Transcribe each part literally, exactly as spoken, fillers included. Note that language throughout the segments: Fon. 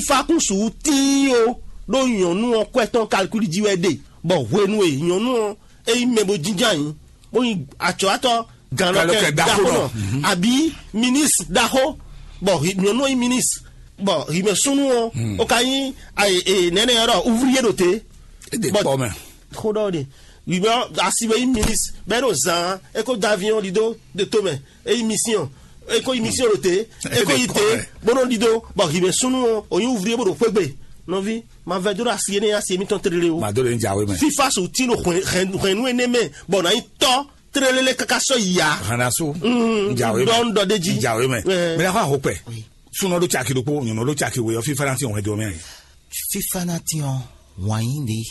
Fífá kún sixú tíin ó, ɖó nyɔ̌nu ɔ́ kwɛ́ tɔn kalkúli jí wɛ ɖe, bɔ hwenu e nyɔ̌nu ɔ́ é nyí mɛ bó jínjɔ́n ayǐ, bó nyí acɔ̌watɔ́ gannɔkɛ ɖaxó nɔ, abǐ minísi ɖaxó, bɔ nyɔ̌nu ɔ́ nyí minísi, bɔ himɛ súnnu ɔ́ ó ka nyí nɛnɛ ɔ́ ɖɔ ouvrier ɖo te. Bɔ xó ɖɔ ɖe, himɛ asi wɛ nyí minísi bɔ é ɖo zan é kó dó aviɔn ɖidó ɖe tomɛ, é yi mission, é kó yi mission ɖo te, é kó yi te, bó nɔ ɖidó, bɔ himɛ súnnu ɔ́ ò nyí ouvrier bó ɖo xwé gbe. Nɔví, ma vɛdó ɖo asi énɛ́ asi émítɔn tlélé o. Mado le ń jàwé mɛ. Fífá sixú tín ɖo hwɛ̌nnu énɛ́ mɛ bɔ nǎ nyí tɔ́ tlélé káká sɔ́ yi ǎ. Hanasu. Ń jàwé mɛ. Ɖɔ ń ɖɔ ɖ'é jí. Ń jàwé mɛ. Mɛ la xɔ ahokpɛ. Súnɔ ɖó caki ɖokpó, nyɔ̌nu ɖó caki we ɔ́, fífá ná tín hwɛndo mɛ. Fífá ná tín ɔ́, wǎn yí ɖe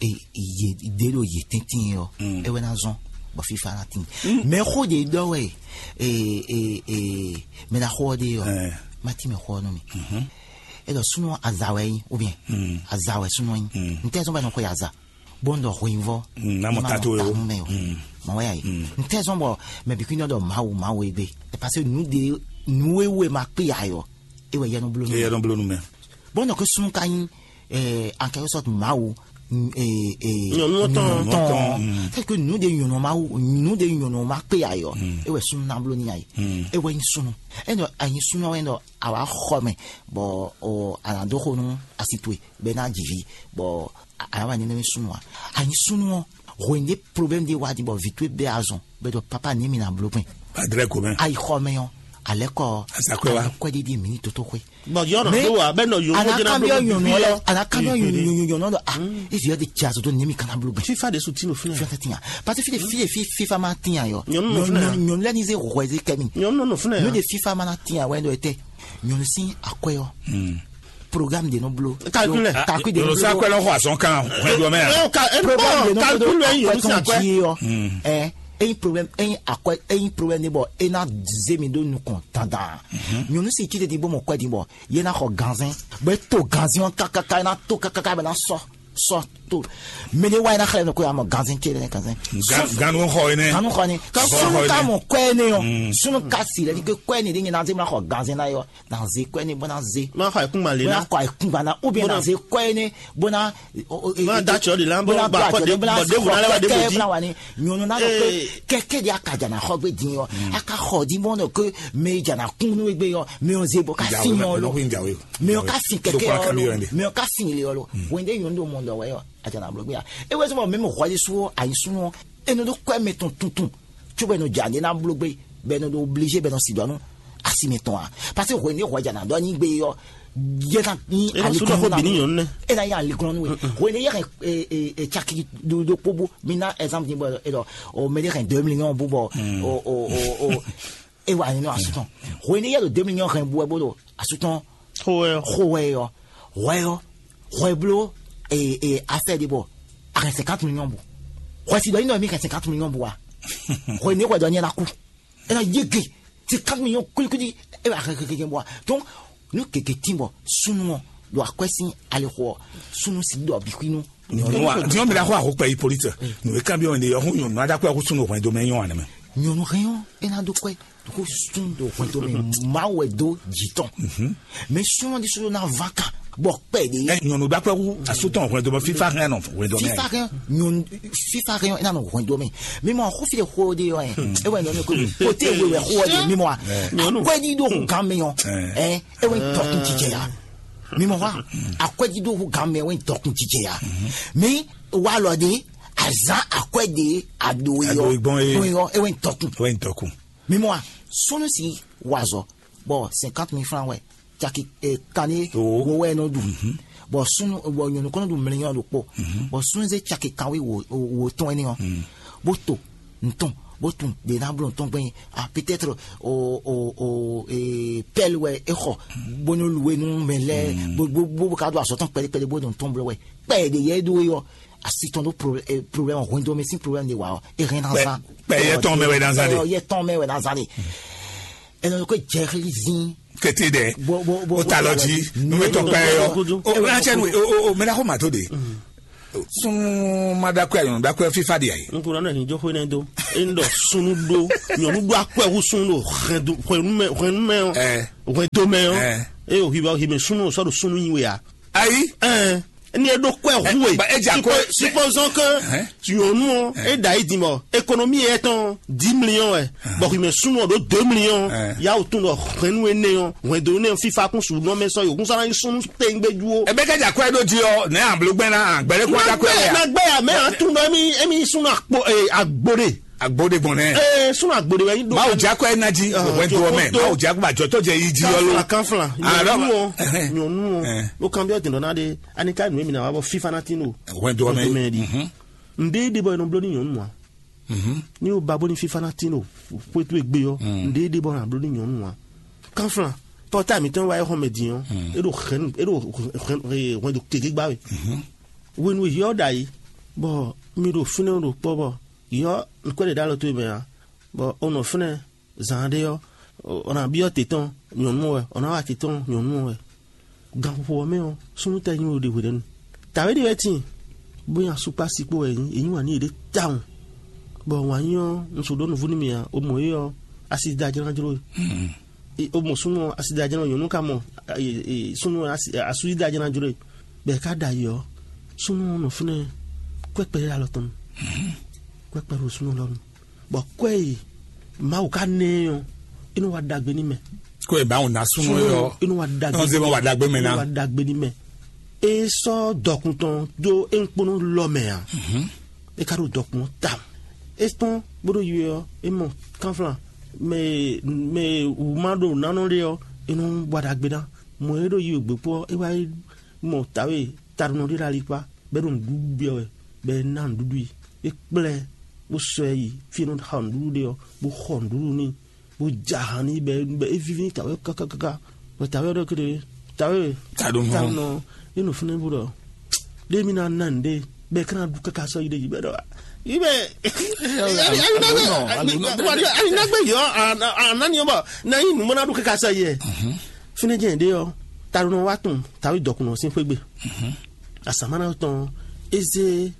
e yě ɖe ɖo yě tɛ́ntin ɔ́, é wɛ ná zɔ́n bɔ fífá ná tín. Mɛ xó ɖě ɖɔ wɛ mɛ ná xó ɔ́ ɖe ɔ́, má tín mɛ xó ɔ́ nú mi. É ɖɔ súnú aza wɛ nyí, ou bien aza wɛ súnú nyí. Ntɛ́ zɔ́n bɔ é nɔ xwe aza bó ń ɖɔ hweyivɔ́ Mm, ná mɔ ní má tato mɔ e o. Tahu mɛ o. Mɔ wɛ yá yi. Ntɛ́ zɔ́n bɔ mɛ bǐ kún nɔ ɖɔ Mawu Mawu e gbé. É parce que nǔ ɖe nǔ e wú e ma kpé ayɔ é wɛ yɛ nɔ bló nú. Eye nɔ bló nu mɛ. Bɔn nɔ ke súnú ka nyí ankɛyɔsɔtu Mawu. Nyɔnu ɔ́ tɔn. Tɔn. C'est que nǔ ɖe nyɔnu Mawu nǔ ɖe nyɔnu ma kpé ayɔ é wɛ súnú ná bló ní ayi. É wɛ nyí súnú. Ɛnɔ anyi súnú wɛ nɔ àwa xɔ mɛ bɔ o anadóxo nú asi towe bɛ ná dzi vi bɔ àwa ní nɛmɛ súnú a anyi súnú ɔ hwɛn ɖé problème ɖé wá di bɔ vi towe bɛ azɔn bɛ dɔ papa ní mi na bló gbɛn. Adrɛ gomɛ. Ayi xɔ mɛ ɔ alɛ kɔ Asakwe wa. Alɛ kɔ ɖiɖi mi ní toto xwe. Bɔn yɔrɔ Mais tó wa bɛ nɔ yòówó jẹnɛ anakambia bolo nyɔnu bibi ɔlɛ yɔ. Anakambia nyɔnu nyɔnu ɔlɛ ah evi ɔdi tsi azoto nemi kana bolo gbɛ. Fifa de su ti no fúnɛ. Fifa tiɲa parce que fi fi fi fifa ma tiɲa yɔ. Nyɔnu nɔ fúnɛ. Nyɔnu lɛ ni ze wɛ ze kɛmi. Nyɔnu nɔ fúnɛ. Nu de fifa ma na tiɲa wɛ do ete nyɔnu si akɔyɔ. Programme de no blo. Calcul. Calcul de no Yòrò sá blo. Kpẹ́ lọ́kọ̀ àsán kan ọ̀hún ẹ̀dùn ọmọ yà. Ẹ o ka ẹ Programme de no blo. Calcul ẹ yòrò sí Akɔyɔ akpẹ. Ti yɔ. Ɛ eyin problème eyin akɔ eyin problème ne bɔ e na ze mi ɖo nukɔn dandan. Nyɔnu si tsi tete bɔ mɔ kɔɛ di bɔ ye na xɔ ganzɛn bɔ e to ganzɛn ɔ kakaka e na to kakaka bɛ na sɔ sɔ to mɛ ne wa e na xlɛ mi ko ya mɔ ganzɛn tse ne ganzɛn. Ganu xɔ yi nɛ. Ganu xɔ ni ka Xɔ sunu yi ka nɛ. Mɔ kɔɛ ne yɔ sunu ka si lɛ ni ke kɔɛ ne de nye na ze mi na xɔ ganzɛn na yɔ na ze kɔɛ ne bɔ na ze Ma xɔ ẹkún ma le bɔ na na. Kɔ ekun ba na ou bien Bɔ na na ze kɔɛ ne bɔ na Bɔ na da tsɔ de la, bɔ na bɔ da akɔ tsɔ de, de bɔ na bɔ de wò na lɛ wa de kɛkɛ wò di. Bɔ na wa ni nyɔnu na lɔ pe Ee. Kɛkɛ de akaja na xɔ gbe din yɔ aka xɔ di bɔ nɔ ke mɛ ja na kun nu egbe yɔ mɛ o ze bɔ ka Jawe, sin yɔ lo jawe, jawe. Mɛ o ka sin kɛkɛ Dokwa yɔ kami lo yɔ ne. Mɛ o ka sin le yɔ lo wende nyɔnu do mɔ dɔ wɛ yɔ aja na blo gbe ya e wɛ sɔ mɛ mɛ xɔ de su ayi sunu eno do kɔɛ mɛ tɔn tuntun tso bɛ no ja ne na blo gbe bɛ no do obligé bɛ no si dɔ nu asi mɛ tɔn a parce que hwɛ ne hwɛ ja na dɔ ni gbe yɔ yɛ na ni Ena su dɔ fo bini nyɔnu nɛ. Ena ya le glɔn nu hwɛ ne yɛ hɛn caki do do kpo bo mi na exemple ni bɔ e dɔ o mɛ de hɛn deux millions bo bɔ o o o o e wa ni nɔ asutɔn hwɛ ne yɛ do deux millions hɛn bo bo do asutɔn Xo wɛ. Xo wɛ yɔ hwɛ yɔ hwɛ blo e e afɛ de bɔ a hɛn cinquante millions bo hwɛ si dɔ ni nɔ mi hɛn cinquante millions bo wa hwɛ ne hwɛ dɔ ni na ku ena yege cinquante millions kulikuli e wa hɛn hɛn hɛn bo wa donc nu keke tin bɔ sunu ɔ do akwɛ sin alixɔ sunu si dɔ bikui nu Nyɔnu a, nyɔnu mi la xɔ ahokpɛ yi polite. Nu e kan bi wɔn de yɔ hun nyɔnu ada kɔ ɛkú sunu hwɛn do mɛ nyɔ anɛ mɛ. Nyɔnu hɛn ɔ ena do kɔɛ ko sun do hwɛndo mɛ mawu wɛ do jitɔn mɛ sunɔ di sɔrɔ na va kan bɔ kpɛ de Ɛ nyɔnu da kɔ ɛkú asutɔ hwɛn do mɛ fifa hɛn nɔ hwɛn do mɛ. Fifa hɛn nyɔnu fifa hɛn ena nɔ hwɛndo mɛ mi mɔ xɔ fi de xɔ de yɔ ɛ e wɛ nyɔnu ko kote ewe wɛ xɔ de mi mɔ a Nyɔnu. Akɔɛ di do gan mi yɔ ɛ e wɛ tɔkun jijɛ ya mi mɔ wa akɔɛ di do gan mi e wɛ tɔkun jijɛ ya mi wa lɔ de azan akɔɛ de ado yɔ Ado igbɔn ye. Yɔ e wɛ tɔkun Wɛn tɔkun. Mi mɔ a sunu si wazɔ bɔ cinquante mille francs wɛ caki eh, kani Owo. Wo wɛ nɔ ɖu bɔ sunu bɔ nyɔnu kɔnɔ ɖu mlɛnyɔ ɖo kpɔ bɔ sunu ze caki kan wi wo wo tɔn ɛni ɔ bó to ntɔn bó tun de na blo ntɔn gbɛnyin ah peut-être o o o eh, pɛl wɛ e xɔ bó nɔ lu enu mɛ lɛ bó bó bó ka do azɔtɔn kpɛɖe kpɛɖe bó nɔ ntɔn blo wɛ kpɛ de yɛ do yɔ asi tɔn ɖo problème hwendo mi sin problème de wa ɔ e hɛn na zan Kpɛ yɛ tɔn mɛ wɛ na zan de. Yɛ tɔn mɛ wɛ na zan de ɛnɛ ko jɛ xili zin Kete dɛ. Bo bo bo O ta lɔ dzi. Nu bɛ tɔ kpɛ yɔ. O o na cɛ nu o o o mɛ na ko ma to de. Sun ma da kɔ yɔ da kɔ fifa de ayi. N kò rán ẹ̀yìn jókòó náà dó. E ń dọ̀ sunu dó. Nyɔnu dó akɔ ẹ̀wù sunu dó. Hwẹ̀nu mẹ́ hwẹ̀nu mẹ́ ọ́. Ɛ Hwẹ̀n tó mẹ́ ọ́. Ɛ. E o hwi bɔ hwi mɛ súnnu sɔ́ ɖo súnnu nyi we a? Ayi. Ɛn, ni e ɖo kɔɛ hu we. Ba e dza kɔ. Supposons que nyɔnu ɔ e da yi din bɔ économie yɛ tɔn dix millions wɛ, bɔ hwi mɛ súnnu ɔ ɖo deux millions. Ya o tún ɖɔ hwɛnu énɛ́ ɔ hwɛndo énɛ́ ɔ fífa kún su nɔ mɛ sɔ yòókùn sɔ́ ná nyí súnnu tɛngbɛ́jú o. Ebe kɛ dza kɔ e ɖo di ɔ nɛ ablo gbɛn na gbɛɖe kɔ dza kɔ e ya. Na gbɛ ya mɛ a tún ɖɔ emi emi súnnu akpo agbo ɖe. Agbo ɖe gbɔn nɛ. Ee, súnnu agbo ɖe wɛ nyi ɖo. Mawu dza kɔ e na dzi wɛndo ɔ mɛ. Mawu dza kɔ ba jɔtɔ jɛ yi dzi yɔ lo. Kanflan, kanflan. Nyɔnu ɔ, nyɔnu ɔ. Ló kan bí ɔ dìndɔn na ɖe. Ani ka nù mí na wa bɔ fífa na tín o. Wɛndo ɔ mɛ. Wɛndo mɛ ɖi. Ǹdé ɖe bɔ e nɔ bló ní nyɔnu a? Ní o ba bó ní fífa na tín o. Xwétu e gbé ɔ. Ǹdé ɖe bɔ na bló ní nyɔnu a? Kanflan, pɔta mǐtɔn wa e xɔ mɛ din ɔ. E ɖo hɛn e ɖo hɛn hɛn do keke gbá we. Wenu yɔ ɖa yi. Bɔ mi ɖo fínɛ́ ɖo kpɔ bɔ yɔ nukɔ́ ɖe ɖo alɔ towe mɛ a? Bɔ o nɔ fínɛ́ zan ɖé ɔ́, ɔ nǎ byɔ́ te tɔn nyɔ̌nu wɛ, ɔ nǎ wa te tɔn nyɔ̌nu wɛ. Ganxixo ɔ́ mɛ ɔ́, súnnu tɛ́ nyí we ɖe hweɖɛnu. Tǎwe ɖé wɛ tíin, bó nyi asúkpási kpó wɛ é nyí, é nyí wǎn nú yěɖée tawun. Bɔ wǎn nyí ɔ́, un su ɖó nuvú nú mi ǎ, o mɔ é ɔ́, asi da jlá jló e. E- O mɔ súnnu ɔ́, asi da jlá nyɔ̌nu ka mɔ e- e- súnnu ɔ́, asi- asú yí da jlá jló e. Bɔ è ká ɖo ayǐ ɔ́, súnnu ɔ́ nɔ fínɛ́ kwɛ́kpɛ ɖé alɔ tɔn nu. Kwɛ́kpɛ ɖo súnnu lɔ nu. Bɔ kwɛ e Mawu ka ná ɛ ɔ́, é nɔ wa ɖagbe n'i mɛ. Kó e báwo ná súnmọ́ yɔ É nɔ wa ɖagbe. Nɔ zé mɔ wa ɖagbe mɛ ná. É nɔ wa ɖagbe n'i mɛ. É sɔ́ dɔkun tɔn dó é ŋkpónɔ lɔ mɛ ǎ. É ka ɖo dɔkun ɔ́ tawun. É kpɔ́n bó ɖo yi ɔ́, é mɔ kánflán mɛ mɛ wǔ ma ɖo nánɔ ɖé ɔ́, é nɔ wa ɖagbe ná. Mɔ é ɖo yi wěgbé kpó ɔ́, é wá yi mɔ tǎwe taɖunɔ ɖé ɖo alikpá, bɔ é ɖo nǔɖuɖu byɔ́ wɛ, bɔ é ná nǔɖuɖu i. É kplá ɛ bó sɔ́ ɛ yi fí e é nɔ xa nǔɖuɖu ɖe ɔ́, bó xɔ nǔɖuɖu n'i, bó ja ahan n'i, bɔ é bɔ é víví n'i tǎwe káká káká. Bɔ tǎwe ɔ́ ɖɔ kéɖé, tǎwe Taɖunɔ. Taɖunɔ, é nɔ fínɛ́ bó ɖɔ ɖé mi ná ná nǔɖé, bɔ é ká ná ɖu káká sɔ́ yi ɖe jí, bɔ é ɖɔ yi bɛ ali na gbé yɔ anani ɔ́ bɔ ná yi nǔ mɔ ná ɖu káká sɔ́ yi ɛ. Fínɛ́ jẹ́ ɖé ɔ́, taɖunɔ wá tún tǎwe dɔkunnɔ sín xwé gbe. Asamáná tɔn é zé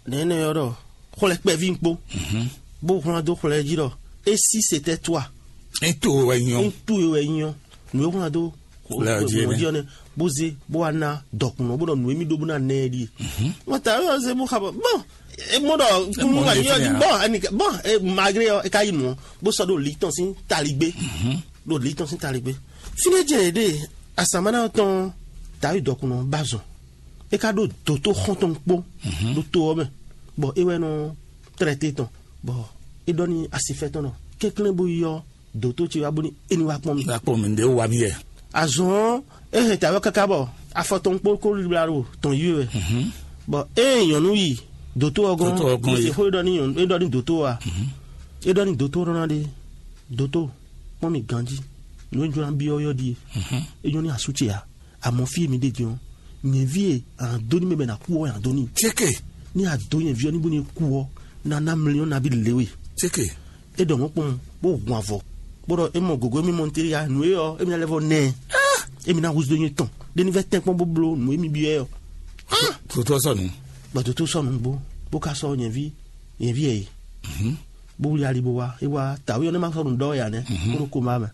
nɛ̌nɛ ɔ́ ɖɔ xwlɛ kpɛví kpó, bó hwlán dó xwlɛ jí ɖɔ é sí se tɛ́ tó a? É to wɛ nyɔ. É to e wɛ nyɔ. Nǔ e hwlán dó Xwlɛ jí mɔ jí ɔ́ nɛ́, bó zé bó wá ná dɔkunnɔ bó ɖɔ nǔ e mì ɖó bó ná nɛ ɛ ɖíe. Wọ́n ta ɛ ɔ́ zé bó xa bɔ bɔn e mɔ ɖɔ kúnú wà ní yɔjú bɔn ẹnì bɔn e malgré ɔ́ e ka yi nù ɔ́ bó sɔ́ ɖo lǐ tɔn sín taligbé. Ɖo lǐ tɔn sín taligbé. Fínɛ́ jɛ yě ɖe asamáná ɔ́ tɔn tàwí dɔkunnɔ bá zɔn. E ka ɖo dǒtó xɔ́ntɔn kpó ɖo to ɔ́ mɛ, bɔ é wɛ nɔ tlɛ te tɔn, bɔ é ɖɔ n'i asifɛ́tɔ́ ɖɔ kɛnklɛ́n bó yɔ́ dǒtó ce wá bónú é ní wá kpɔ́n mì. Wá kpɔ́n mì, ndé wá mì yɛ. Azɔn ɔ́, é hɛn tǎwe káká bɔ afɔ tɔn kpó kó libla ɖo tɔn yí wɛ. Bɔ ée nyɔ̌nu yi dǒtó ɔ́ gɔ́n, Dǒtó ɔ́ gɔ́n bó se xó é ɖɔ n'i nyɔ̌nu é ɖɔ n'i dǒtó ɔ́ a? É ɖɔ n'i dǒtó ɔ́ ɖɔ ná ɖe dǒtó, kpɔ́n mì ganjí, nǔ e jló ná byɔ́ yɔ́ ɖíe. É nyɔ́ n'i asú ce ǎ. Amɔ̌ fí e mi ɖe din ɔ́, nyɛ̌ví e a nǎ dó n'i mɛ bɔ è nǎ kú ɔ́, è nǎ dó n'i. Céke. Ní a dǒ nyɛ̌ví ɔ́ ní bónú é kú ɔ́, ná ná mlɔ́ nabí lě we. Céke. É ɖɔ mɔ̌ kpɔ́n, bó hun avɔ, bó ɖɔ é mɔ gǒgó émí mɔ nutélé ya, nǔ e ɔ́, émí ná lɛ́ vɔ nɛ ɛ. Émí ná húzú dó nyé tɔn, ɖé ní vɛ́ tɛ́nkpɔ́n bó bló nǔ e mì byɔ́ ɛ ɔ́. Dotó sɔ́ nǔ. Bɔ dotó sɔ́ nǔ bó, bó ka sɔ́ nyɛ̌ví, nyɛ̌ví ɛ yi. Bó wlí ali bó wá, é wá, tǎwe ɔ́ nɛ́ má sɔ́ nǔ ɖɔ wɛ ǎ nɛ́, bó ɖo koma mɛ.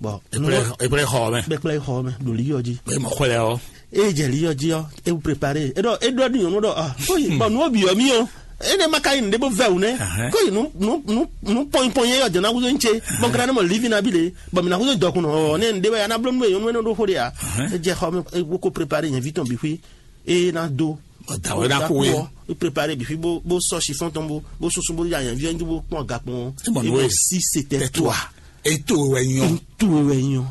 Bɔ Ekplɛ ekplɛ xɔ mɛ. Bɛ kplɛ xɔ mɛ ɖo liyɔ jí. Bɛ mɔ xɔlɛ ɔ. Eye jɛ liyɔ jí ɔ, ewu prepare. Eɖɔ eɖɔ ni nyɔnu ɖɔ ah, koyi bɔ nu obi ɔ mi ɔ. Ene ma ka yi nuɖe bó vɛ wu nɛ. Koyi nu nu nu nu pɔnyi pɔnyi yɛ jɛ na wuzo nche. Bɔn kana ne mɔ livi na bi le. Bɔn mi na wuzo dɔkun nɔ ɔ ne nuɖe bɛ ya na blo nu yɛ nyɔnu ɛnɛ ɖo xo de ya. Edze xɔ mɛ ewu ko prepare nyɛ vi tɔn bi xui. Eye na do. Dawɛ na ko ye. E prepare bi xui bó bó sɔ chiffon tɔn bó bó sunsun bó ya nyɛ vi ɛndu bó kpɔn agakpɔn. Ebɔ nu ye. Si c'était toi. Eto wɛ nyɔ. Eto wɛ nyɔ.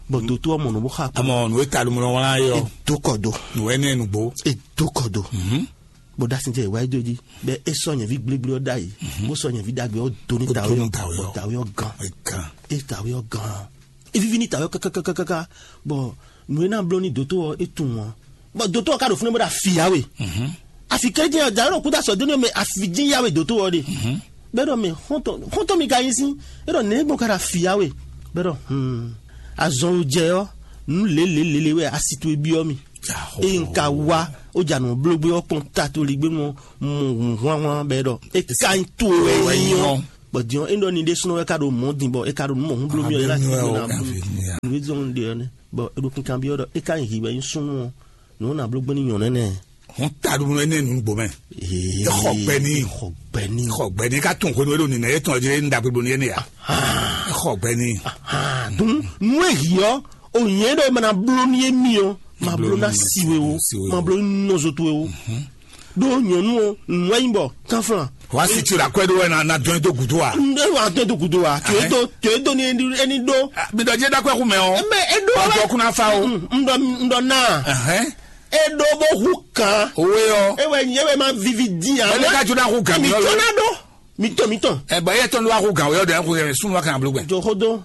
Bɔn doto ɔmɔ nɔ bó xa kpɔn. Amɔ nu eta lumɔ wala yɔ. Edo kɔ do. Nu wɛ ne nugbo. Edo kɔ do. Bɔn dasi tɛ wa do di bɛ esɔ nyɛvi gblegble ɔ da yi. Bó sɔ nyɛvi dagbe ɔ do ni tawe ɔ. Bɔn tawe ɔ gan. Gan. E tawe ɔ gan. Evivi ni tawe ɔ kakakakaka. Bɔn nu e na blɔ ni doto ɔ e tun ɔ. Bɔn doto ɔ ka ɖo fúnɛ bó ɖo afi ya we. Afi kɛjɛ ɔ da yɔrɔ kúta sɔ dóni mɛ afi jí ya we doto ɔ de. Bɛ dɔ mɛ xɔntɔn xɔntɔn mi ka yin sin. E dɔ nɛ gbɔn ka ɖo afi ya we. Bɛ dɔ hmm. Azɔn jɛ ɔ nu lele lele wɛ asi to ebi ɔ mi. Eyi n ka wa o dza nɔ blogbe ɔ kpɔn ta to ligbe mɔ mɔ hun hwan hwan bɛ dɔ e ka yin to wɛ yin ɔ. Bɔ din ɔ́, é ɖɔ ni ɖésúnɔ wɛ ka ɖo mɔ̌ din, bɔ é ka ɖo nǔ mɔ̌ hún bló mì ɔ́, é ná kí mì ná bló nǔ e zɔ́n un ɖe ɔ́ nɛ́. Bɔ é ɖo kinkanbyɔ́ ɖɔ é ka nyí hǐ wɛ nyí súnnu ɔ́, nǔ ɔ́ ná bló gbɛ́ nú nyɔ̌nu énɛ́. Hún ta ɖu nú énɛ́ nǔgbó mɛ. É xɔ gbɛ n'i. Xɔ gbɛ n'i. Xɔ gbɛ n'i, ka tunwun hwenu e ɖo nǐnɛ yětɔn ɔ́ jí é un ɖagbe ɖo n'i énɛ́ ǎ. É xɔ gbɛ n'i. Dun nú e hǐ ɔ́, o nyɛ ɖɔ é ma ná bló nú émí ɔ́, ma bló ná si we o, ma bló nú nɔzo towe o. Ɖó nyɔ̌nu ɔ́, nǔ wɛ nyí bɔ kánflán. Wá si tso ɖo akwɛ́ ɖó wɛ ná dɔn ɛ dó gǔdo a? Ŋɖe wà tó do gǔdo wa. Tó e do tó e do ni ẹni ɖó. Mi ɖɔ jẹ́ ɖákú ẹkú mɛ ɔ. Mɛ e ɖó wɛ. Ọjọ́ kún náà fa o. Ŋɖɔ ŋɖɔ náà. Ẹhẹ́n. E ɖó bó hu kan. Owó yɔ. E wɛ e wɛ ma vivi di a. Bẹ́ẹ̀ ni ká tún náà hu kan mi mi ɔ tọ́ lọ. Náà ɖó. Mi tọ́ mi tọ́. Ẹ bọ̀ ẹ tọ́ ní wàá hu kan o yọ dẹ̀ ẹ kú yẹ súnmọ́ kan àbúrò gbẹ. Jòkódó.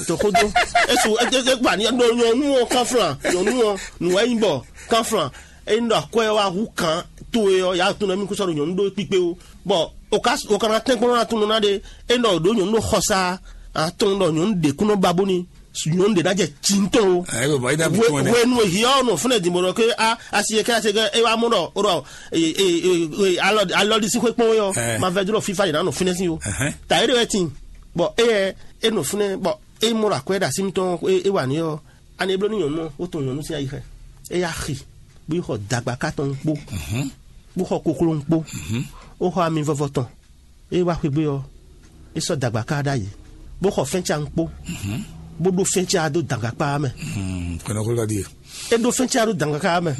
Jòkódó. Esu ẹgbẹ́ gbà ní nyɔnu ɔ kánflán nyɔnu ɔ nùwẹ́yìnbọ̀ kánflán. Eye un ɖɔ akwɛ́ ɔ́ wá hú kan towe ɔ́, yǎ tunwun mì kún sɔ́ ɖo nyɔ̌nu ɖó kpíkpé ó. Bɔ o ka o ka ná tɛ́nkpɔ́n ná tunwun ná ɖe. Eye un ɖɔ ɖǒ nyɔ̌nu ɖó xɔsá atɔn ɖɔ nyɔ̌nu ɖě kún nɔ ba bóni nyɔ̌nu ɖě ná jɛ ci ŋutɔn ó. Hwenu e hiɔ nɔ fúnɛ din bɔ ɖɔ ké a asi e ká se ké e wá mɔ ɖɔ o ɖɔ alɔ ɖi sí xwé kpɔn ó yɔ ma vɛ dúró fífa yě ná nɔ fínɛ sí ó. Ta é ɖe wɛ tin bɔ éyɛ é nɔ fúnɛ bɔ é mɔ ɖɔ akwɛ́ ɖo así mitɔn é wà ní ɔ́. Ani e bló nú nyɔ̌nu ɔ́, ó tunwun nyɔ̌nu sín ayi xɛ. É yá xi, bó yi xɔ dagbaká tɔn kpó, bó xɔ kokló kpó, bó xɔ ami vɔvɔ tɔn. É wá xwé gbé ɔ́, é sɔ́ dagbaká ɖ'ayǐ, bó xɔ fɛ́nca kpó, bó ɖó fɛ́nca dó dagbaká mɛ. Kɔnɔkúlɔ ɖíe. É ɖó fɛ́nca dó dagbaká mɛ,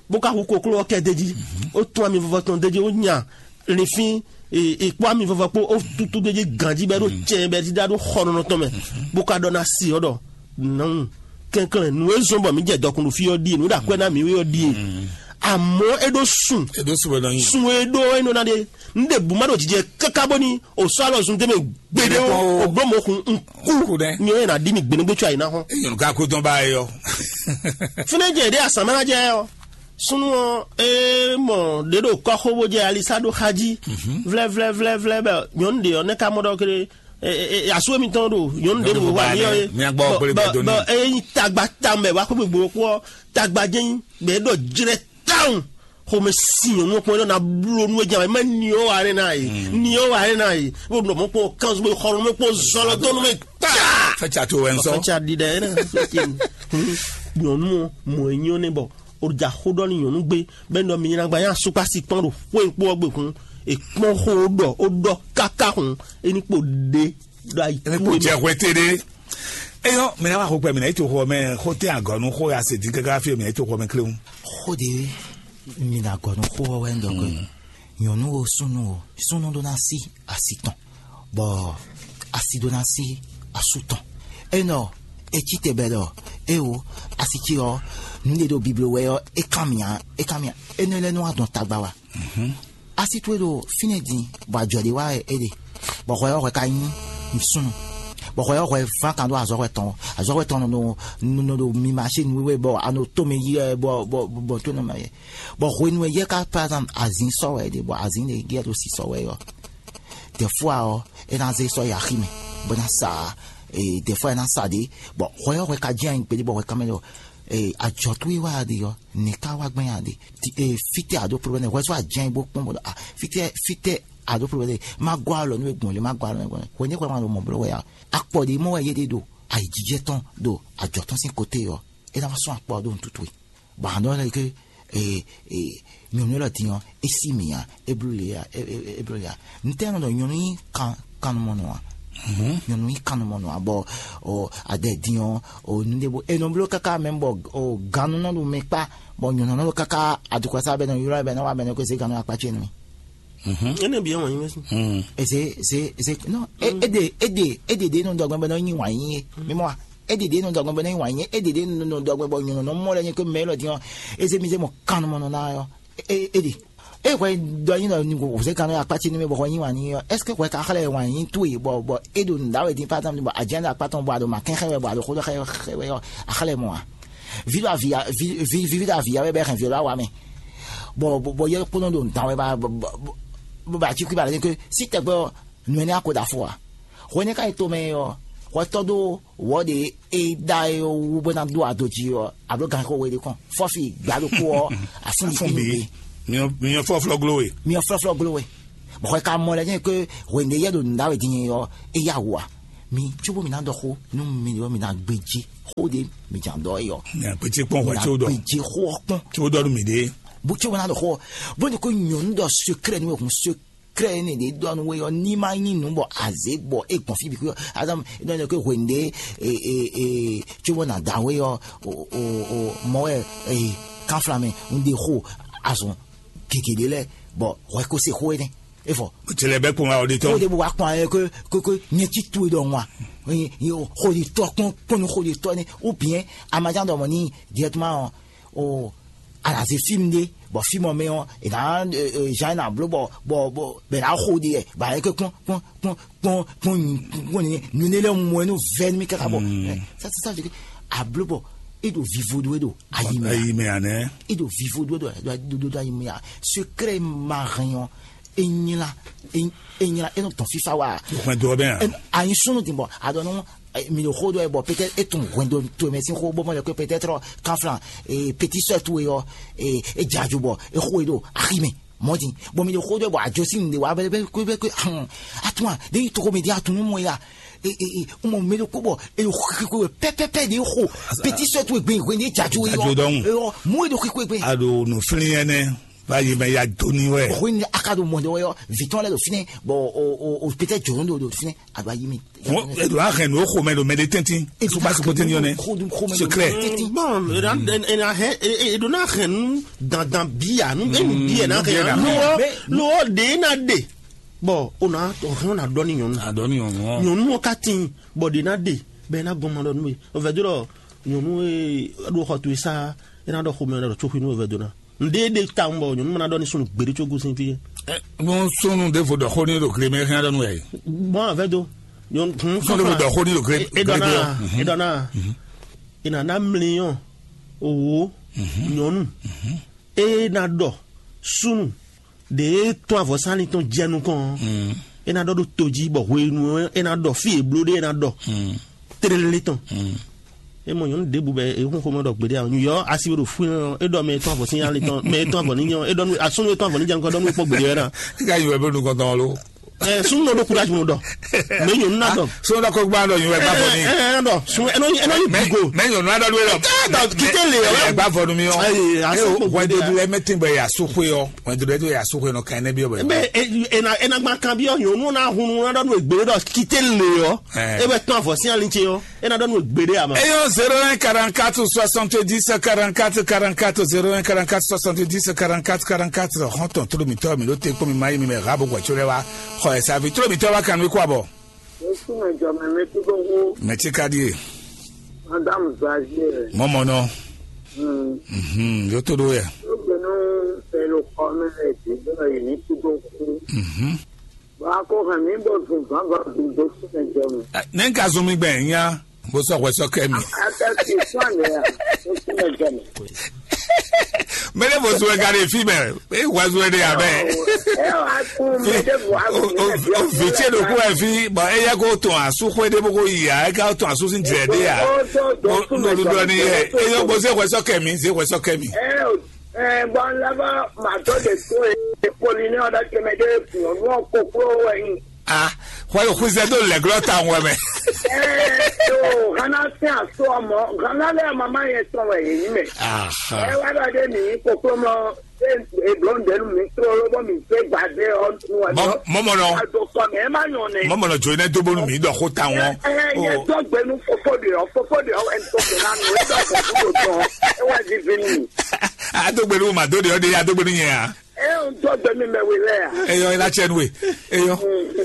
bó ka hu kokló ɔ́ kɛ d'é jí, ó tún ami vɔvɔ tɔn d'é jí, ó nya linfín è kpó ami vɔvɔ kpó ó tútú ɖé jí ganjí bɔ é ɖo cɛn bɔ é ɖíɖá ɖó xɔnɔnɔ tɔn mɛ, bó ka ɖɔ ná si ɔ́ ɖɔ nɔn kɛnklɛn nǔ e zɔ́n bɔ mǐ jɛ dɔkun ɖo fí ɔ́ ɖíe, nǔ e ɖo akwɛ́ ná mǐ é ɔ́ ɖíe. Àmọ́ é ɖó sun. É ɖó sun wɛ nɔ nyi. Sun e ɖó é nɔ ná ɖe. Un ɖe bǔ má ɖo jijɛ káká bóni o sɔ́ alɔ zun tɛ́ mɛ gbeɖé o, o bló mɔ̌ kun un kú. Kú ɖɛ. Nyɛ ɔ́ yɛ ná ɖi mi gbeɖégbé có ayi ná hɔn. Nyɔnu ka kó dɔn ba yɔ. Fínɛ́ jɛ ɖé asǎmánajɛ ɔ́. Súnnu ɔ́, é mɔ ɖě ɖo kɔ́xo bó jɛ alisa ɖó xá jí. Vlɛ́vlɛ́vlɛ́vlɛ́ bɛ nyɔ̌nu ɖě ɔ́ nɛ́ ka mɔ ɖɔ kéré. Asú émítɔn ɖo nyɔ̌nu ɖě ɖo wá ní ɔ́ é. Bɔ é nyí tagba tawun bɛ wá xwé gbogbo kpó ɔ́, tagba jɛ́n nyí bɛ é ɖɔ jlɛ́ tawun. Xomɛ sin nyɔ̌nu ɔ́ kpɔ́n é ɖɔ ná bló nú é jɛ mɛ ni ɔ́ wá rɛ́ ná é. Ni ɔ́ wá rɛ́ ná é. Bó ɖɔ mɔ kpɔ́n kánzú bó xɔ nú mɛ kpɔ́n zɔlɔ dó nú mɛ tá. Fɛ́ ca to wɛ ń sɔ. Fɛ́ ca ɖiɖɛ é ná. Nyɔ̌nu ɔ́ mɔ é nyɔ́ nɛ bɔ o ɖo ja xó ɖɔ nú nyɔ̌nu gbé bɛ́ ɖɔ mi nyina gba nyá asúkpá sí kpɔ́n ɖo xwé kpó ɔ́ gbe hun. È kpɔ́n xó ɖɔ ó ɖɔ káká hun. É ní kpo ɖe ɖo ayi. É ní kpo jɛ hwetɛ́ɖé. Eyɔ mɛ ná wá xo gbɛ mɛ ná yi to xɔ mɛ xó tɛ́n agɔ̌ nú xó ya se dín káká fí mɛ ná yi to xɔ mɛ kléwún. Xó ɖé mi ná gɔ́ nú xó ɔ́ wɛ ń ɖɔ gbé. Nyɔ̌nu o súnnu o súnnu ɖó ná sí asi tɔn bɔ asi ɖó ná sí asú tɔn. Enɔ etí te bɛ ɖɔ eo asi ce ɔ́ nǔɖé ɖo biblo wɛ ɔ́ é kan mì ǎ é kan mì ǎ. Énɛ́ lɛ́ɛ nɔ wá dɔn tagba wá. Asi towe ɖo fínɛ́ din bɔ ajɔ ɖé wá wɛ é ɖe, bɔ hwɛ ɔ́ hwɛ ka nyí súnnu, bɔ hwɛ ɔ́ hwɛ ván kan ɖó azɔ̌hwɛ tɔn, azɔ̌hwɛ tɔn nɔ nɔ ɖo mi maṣé nǔwiwa bɔ a nɔ tó mɛ yi wɛ bɔ bɔ bɔ tó nɔ mɛ yɛ. Bɔ hwenu e yɛ ka par exemple azin sɔ wɛ ɖe bɔ azin ɖe yɛ ɖo si sɔ wɛ ɔ́, dɛfua ɔ́ é ná zé sɔ yi axi mɛ bó ná sa dɛfua é ná sa ɖe. Bɔ hwɛ ɔ́ hwɛ ka jɛ́n anyi gbeɖé bɔ hwɛ ka mɛ ɖɔ ajɔ towe wá ɖe ɔ́ nɛ̌ ká wá gbɛn a ɖe? Fítɛ́ a ɖó problème hwɛ sɔ́ a jɛ́n bó kpɔ́n bó ɖɔ a fítɛ́ fítɛ́ a ɖó problème má gɔ́ alɔ nú we gbɔn lě má gɔ́ alɔ nú we gbɔn lě hwɛ ní xwɛ ma ɖo mɔ bló wɛ a akpɔ ɖě mɔ wɛ yé ɖe ɖo ayǐjijɛ tɔn ɖo ajɔ tɔn sín kote ɔ́ é ná wá sɔ́n akpɔ ɔ́ ɖó nǔtútú e bɔ a nɔ lɛ ké nyɔ̌nu élɔ́ din ɔ́ é sí mì ǎ é bló lě ǎ é bló lě ǎ. Ntɛ́ nɔ ɖɔ nyɔ̌nu nyí kan kannumɔnɔ ǎ. Nyɔ̌nu nyí kannumɔnɔ ǎ bɔ adɛ din ɔ́ nǔɖé bó è nɔ bló káká mɛ bɔ gannú nɔ ɖo mɛ kpá bɔ nyɔ̌nu nɔ ɖo káká adukɔsá bɛ nɔ ylɔ́ bɛ nɔ wa bɛ nɔ ko zé gannú akpá ce nú mì. Énɛ́ bǐ wɛ wǎn nyí mɛ sín. Eze eze eze non e ede ede ede de nɔ dɔgbɛn bɛ nɔ nyi wǎn nyí é. Mi mɔ wa ede de nɔ dɔgbɛn bɛ nɔ nyi wǎn nyí é ede de nɔ dɔgbɛn bɔ nyɔ̌nu nɔ mɔ lɛ nyi ko mɛ élɔ́ din ɔ́ eze mi zé mɔ kannumɔnɔ ná ɔ́. Ede e hwɛ dɔ nyi nɔ wòzé kan nɔ akpá ce nú mɛ bɔ hwɛ nyi wǎn nyí ɔ́, est-ce que hwɛ ka xlɛ́ wǎn nyí towe bɔ bɔ e ɖo nǔɖá wɛ din par exemple bɔ a jɛ́n ɖo akpá tɔn bɔ a ɖo ma kɛn xɛ wɛ bɔ a ɖo xó ɖɔ xɛ wɛ ɔ́ a xlɛ́ mɔ a? Vivi ɖo avǐ ya wɛ bɛ hɛn vivi ɖo awa mɛ bɔ bɔ yɛ kpónɔ ɖo nǔɖá wɛ bɔ bɔ bɔ bɔ atikwi ba lɛ ke si tɛgbɛ ɔ́ nǔ énɛ́ ako ɖo afɔ a? Hwɛ nɛ́ ka yi tomɛ ɔ́ hwɛtɔ́ ɖó wɔ ɖe e ɖa e wú bó ná ɖó ado jí ɔ́ a ɖó ganxixo we ɖé kɔn fɔ́fi gbǎ ɖokpó ɔ́ afúnbi Afúnbi. Miɔ miɔ flɔflɔ glo we. Miɔ flɔflɔ glo we. Bɔxɔ ka mɔ lɛ nyɛ ke hwenu ɖe yɛ ɖo nǔ ɖa wɛ din ɔ, e ya wu a? Mi tso bó mi ná ɖɔ xó nú mi ɖɔ mi ná gbéjé xó ɖe mi jà ɖɔ é ɔ. Nya kpétí kpɔn hwɛ tso ɖɔ. Gbéjé xó ɔ kpɔn. Tso ɖɔ nú mi ɖe. Bó tso bó ná ɖɔ xó ɔ, bó ní ko nyɔ̌nu ɖɔ secret nú wɛ hun secret ne ɖe ɖɔ nú wɛ ɔ ní ma nyí nǔ bɔ azé bɔ é gbɔn fí bi kú ɔ. Azam ɖɔ ne ko hwenu ɖe e e e tso bó ná da wɛ ɔ o o o mɔ wɛ e kanflamɛ un ɖe xó azɔn gěgé ɖé lɛ́ɛ bɔ hwɛ ko se xó énɛ́. É fɔ. Tele bɛ kpɔn wa o de tɔn. Xó de bó wa kpɔn ayɛ ko ko ko nyɛ ci tu e ɖɔ ŋwa. Xó de tɔ kpɔn kpɔn xó de tɔ ne ou bien amajan ɖɔ mɔ ni directement o alaze film de bɔ film mɛ ɔ e na jan na blo bɔ bɔ bɔ bɛ na xó de yɛ ba yɛ ko kpɔn kpɔn kpɔn kpɔn kpɔn kpɔn ni nu ne lɛ mɔ enu vɛ mi kaka bɔ. Ça ça ça veut dire que ablo bɔ e ɖo vivo do e ɖo ayi mɛ. Ayi mɛ anɛ. E ɖo vivo do e ɖo do do ayi mɛ. Secret marin ɔ enyla enyla e nɔ tɔn fifa wa. Hwɛndo bɛ yan. Anyi sunu ti bɔ adɔnu mi ɖo xó dɔ yɛ bɔ peut-être e tun hwɛndo to mɛ sin xó bɔ mɔ lɛ ko peut-être kanflan petit sœur towe yɔ e jaju bɔ e xó e ɖo axi mɛ mɔdi bɔ mi ɖo xó dɔ yɛ bɔ ajo sin de wa bɛ bɛ ko bɛ ko hàn atuma de yi togo mi di atunu mɔ ya e e e mɔ mi ɖo ko bɔ e ɖo xixi ko pɛpɛpɛ de xo petit sœur towe gbe hwɛndo e jaju Jaju dɔn. Yɔ mu e ɖo xixi ko gbe. A ɖo nuflin ɛnɛ. Báyìí mɛ ya dó ní wɛ. Hwin a ka ɖo mɔ ɖe wɛ yɔ vitɔn lɛ ɖo fínɛ bɔ o o o pété jɔrɔ ɖo ɖo fínɛ a ɖo ayi mi. Wọn eɖo ahɛn nù ó xo mɛ ɖo mɛ ɖe tɛntin. Suba suko tɛntin yɔ nɛ. Secret. Bon, e na e na hɛn e e ɖo na hɛn nu dandan bia nu e nu bia na hɛn nu ɔ nu ɔ de na de. Bɔn o na o hɛn o na dɔ ni nyɔnu. Adɔ ni nyɔnu ɔ. Nyɔnu ɔ ka tin bɔn de na de bɛ e na gɔn ma dɔ nu ye o vɛ do lɔ nyɔnu e ɖo xɔ to e sa e na dɔ xo mɛ lɔ tso xi nu o vɛ do na. Ǹɖe ɖe tawun bɔ nyɔnu mana ɖɔ ní sunu gbeɖé có gosín fí. Bon, sunu ɖěvo ɖɔ xó ní ɖo gle mɛ xyán ɖɔ nú wɛ. Bon, avɛ do. Nyɔnu sunu ɖěvo ɖɔ xó ní ɖo gle gle. Edɔna edɔna ina na mliɔn owo nyɔnu e na ɖɔ sunu ɖe tɔn avɔsánni tɔn jɛ nukɔn. E na ɖɔ ɖo to jí bɔ hwenu e na ɖɔ fí e bló ɖe e na ɖɔ. Tlélé tɔn. E mɔ nyɔnu ɖěbǔ bɛ e hún xomɛ ɖɔ gbeɖé a nyɔ asi ɖo fún ɛ e ɖɔ mɛ etɔn avɔ sín ali tɔn mɛ etɔn avɔ ní nyɔ e ɖɔ nú asúnú etɔn avɔ ní jɛ nukɔ ɖɔ nú kpɔ gbeɖé wɛ na. Ika yi wɛ bɛ nukɔ tɔn lo. Ɛ sún nɔ ɖo kúrajì mo ɖɔ mɛ nyɔnu na dɔ. Sɔnni dɔ ko gbá dɔ yin wɛ gbá fɔ ni. Ɛ ɛ dɔ sun ɛnɔ ɛnɔ yi bigo. Mɛ nyɔnu adɔ do yɛ dɔ. Ɛ dɔ kite le yɛ. Ɛ gbá fɔ nu mi yɔ. Ayi aso kpɔ gbeɖé ya. Wɛdodo lɛ mɛ tin bɛ yasu xwe yɔ wɛdodo lɛ to yasu xwe nɔ kan ɛnɛ bi yɔ bɛ. Mɛ ena ena gba kan bi yɔ nyɔnu na hunu na dɔ nu egbe dɔ kite le yɔ. Ɛ. E bɛ tɔn avɔ sín ali ce yɔ. E na ɖɔ nú gbeɖé ama. Eyɔn zéro un quarante-quatre soixante-dix quarante-quatre quarante-quatre zéro un quarante-quatre soixante-dix quarante-quatre quarante-quatre hɔntɔn tló mitɔ mi ɖo te kpɔn mi ma yi mi mɛ ha bo gbɔ tso lɛ wa xɔ ɛ savi tló mitɔ wa kan mi kó abɔ. Yesu mɛ jɔ mɛ mi kúdó hu. Mɛ tí ka die. Madame Zazie. Mɔmɔ nɔ. Hmm. Mhm, yo to do yɛ. Ó gbé nú pẹ̀lú kọ́ mẹ́rẹ̀ dé bẹ́ẹ̀ yìí ní kúdó hu. Mhm. Bɔ a ko hɛn mǐ bó zun zǎnzǎn bǐ dó súnmɛ jɛ mɛ. Ɛ, nɛ̌ un ka zɔn mi gbɛn nya bó sɔ́ hwɛ sɔ́ kɛ mi? Atɛsi fún àlẹ́ à, dó súnmɛ jɛ mɛ. Mɛ ɖé bó zun ɛ ka ɖe fí mɛ, é hwɛ zun ɛ ɖe abɛ. Ɛ wá kún mi ɖé bò á O gùn mi o lẹ́bi o vǐ ce ɖo kú ɛ fí, bɔ é yɛ kó tɔn asú xwé ɖé bó kó yi a, é ká tɔn asú sín jɛ ɖé a. Ó tó dó súnmɛ jɛ mɛ. Nolu dɔ ni yɛ, é yɔ bó zé hwɛ sɔ́ kɛ mi, zé hwɛ sɔ́ kɛ mi. Ɛ o Ɛɛ, bɔn lɛbɔ matɔ de to ye polini ɔdɔ tɛmɛ de nyɔnu ɔ koklo wɛ nyi. Ah, hwɛ yo xwizɛ do lɛglɔ ta wɛ mɛ. Ɛɛ, to hana sin aso ɔmɔ hana lɛ mama yɛ tɔn wɛ yɛ nyi mɛ. Ah. Ɛ wa dɔ de mi koklo mɔ e eblo de nu mi trolo bɔ mi se gba de ɔ nu wa dɔ. Mɔmɔ nɔ. A do kɔ mɛ ɛ ma nyɔ nɛ. Mɔmɔ nɔ jo ne do bonu mi dɔ ko ta wɔn. Ɛ ɛ yɛ dɔ gbɛnu fofo de ɔ fofo de ɔ ɛn to gbɛ na nu e dɔ gbɛ nu do dɔn e wa di vi nu. Adógbénu ma dó ɖe ɔ́ ɖe adógbénu nyɛ a? Ɛ ń tọ́ gbẹmí mɛ wé lɛ a? Eyɔ ila tsɛ nue. Eyɔ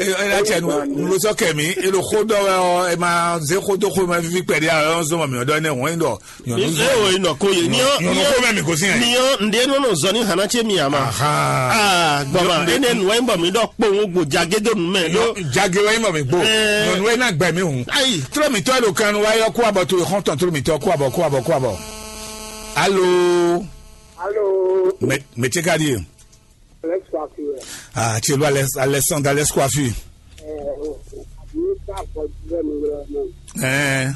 eyɔ ila tsɛ nue. Nulosɔ kɛmi elo xodɔ wɛ ɔ ema ze xodo xo ma fifi kpɛɖi a ɔyɔ zɔn ma mi ɔdɔ ne wɔn dɔ. Ee o inɔ ko ye ni ɔ ni Nyɔnu ɔ xo mɛ mi ko si yɛn. Ni ɔ nde nɔ nɔ zɔ ni hana tse mi ama. Aha. Aa gbɔma ene nua yi bɔ mi dɔ kpɔn wo gbo jage do nu mɛ do. Jage wɛ yi mɔ mi gbo. Ɛɛ. Nyɔnu wɛ na gbɛ mi hùn. Ayi. Trɔ mi tɔ lo kan wa yɔ kó abɔ to xɔntɔn trɔ mi tɔ kó abɔ kó abɔ kó abɔ. Alo. Alo. Mɛ mɛ tse ka di ye. Alex Kwaku yɛ. Ah, tse lo Alex Alexandre Alex Kwafi. Ɛ o àbí ká bɔ jùlọ mi yɔrɔ náà. Ɛɛ.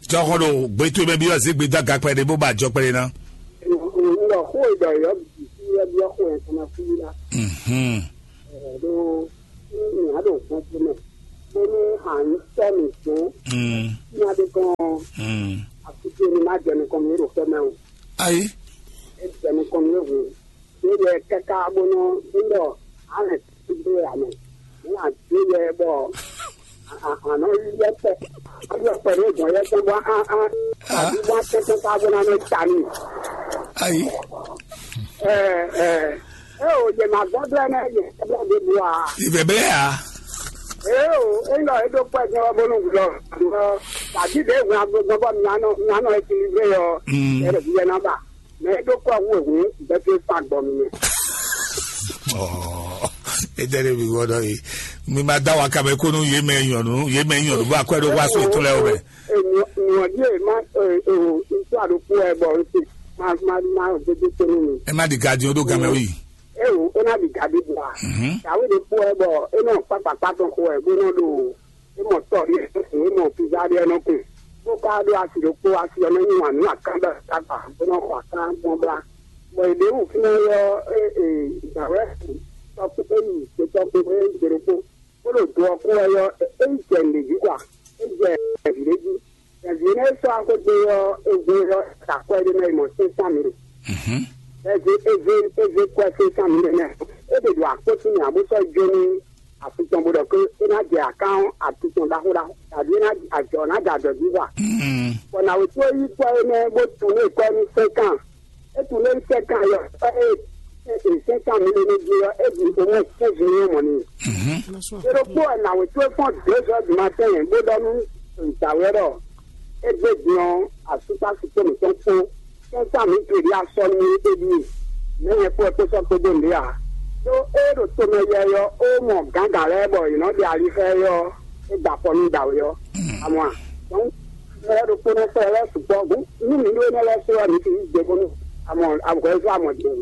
Jɔxɔ ɖo gbɛtɔ bɛ bi ɔzegbe da gakpɛ de bó ba jɔ kpɛ de na. Ŋgɔ xó ìgbà yɔ bìbí. Byɔ́byɔ́ xo ɛ tɔn ná fí lá. Mhm. Ɛ ɖó ní mǐ á ɖo gbɔn tó mɛ bónú à ń sɔ́ mǐ dó Mm. ní adé kɔn Mm. Àkúté ní má jɛ nukɔn mì ɖo fɛ́ mɛ o. Ayi. É jɛ nukɔn mì hǔn. Ɖé yɛ káká bónú ńdɔ á lɛ dó yɛ amɛ. Ní àdó yɛ bɔ ànɔ yɛ pɛ. Á yɔ pɛ ní gbɔn yɛ tɔn bɔ á á àbí bɔ á tɛ́tɛ́ ká bónú á nɔ ta n'i. Ayi. Ɛ ɛ ɛ o, yě ma gbɔdɔ ɛnɛ yě gbɔdɔ ɖe bu a? Ìbẹ̀bẹ̀ à. Ee o, ńlọ e ɖo kpɛ jɛ wɔ bónú gblɔ gblɔ tàbí ɖe hwɛ agbègbè bɔ mianɔ mianɔ ekilibre yɔ Mm. Ɛrɛ bi yɛ naba mɛ e ɖo kpɛ hu ehu bɛ fi fa gbɔ mi. Ɔ, ete ɖe mi wɔ ɖɔ yi. Mi ma da wa kabe konu ye mɛ nyɔnu ye mɛ nyɔnu bɔ akwɛ ɖo wa so etɔn lɛ o mɛ. Nyɔdi e ma e o ntɔ aɖokpo ɛ bɔ n se ma ma ma o gbede tonu mi. Ɛ má di gadi o ɖo gamɛ wi. Ewu é ná ɖi gaɖi bla. Mhm. Dǎwe ɖokpó wɛ bɔ é nɔ kpákpákpá tɔn xo wɛ bó nɔ ɖo é mɔ tɔ ɖé é mɔ pizza ɖé nɔ kun bó ka ɖó asi ɖokpó asi ɔ́ nɔ nyi wǎn nú akán bɔ kpákpá bó nɔ xɔ akán gbɔn bla. Bɔ è ɖě wǔ fínɛ́ ɔ́ é é dǎwe tɔkpó é yi gbe tɔkpó é gbe ɖokpó bó ɖo do ɔ́ kú wɛ ɔ́ é yi jɛ nǔɖé jí kɔ é jɛ vǐ ɖé jí. Vǐ énɛ́ e sɔ́ axwé dó é ɔ́, é hwe ɔ́, é ɖo akwɛ́ ɖé mɛ, é mɔ sɛ́n tɔn mì ɖe. Mhm. Eze eze eze kwɛ sɛ́n tɔn mì ɖe mɛ. É ɖe ɖo akpó sín mì ǎ bó sɔ́ jó nú afi tɔn bó ɖɔ ké é ná jɛ akán ɔ́, afi tɔn ɖaxó ɖaxó, tàbí é ná ajɔ ná jɛ ajɔ jí wa. Mhm. Bɔ nǎwe tó yí kwɛ́ énɛ́ bó tunú kwɛ́ nú sɛ́n kan. É tunú é sɛ́n kan yɔ, é é sɛ́n kan mì ɖe nú jí ɔ́, é ɖi omɔ sɛ́n jí nyɔ́ mɔ n'i. Mhm. Ɖokpó wɛ nǎwe towe fɔ́n deux heures du matin bó ɖɔ nú dǎwe ɔ́ ɖɔ é gbé din ɔ́, asúkpásúkpó mǐtɔn kpó kɛ́nká mǐ tlǒ ɖi asɔ nú é ɖíe. Mɛ̌ nyɛ kpó wɛ kpó sɔ́ kpódó nǔɖé ǎ. Đó é ɖo tomɛ yɛ ɔ́, ó mɔ gǎngǎn lɛ́ɛ bɔ yě nɔ ɖe ali xá ɛ ɔ́, é gba afɔ nú dǎwe ɔ́. Amɔ a? Dɔ̌n mɛ lɛ́ɛ ɖokpó nɔ sɔ́ ɛ lɛ́ɛ sukpɔ́ hǔn nú mǐ ɖó énɛ́ lɛ́ɛ só wɛ mǐ sixú gbě bónú amɔ ahwɛ̌ zɔ́ amɔ din.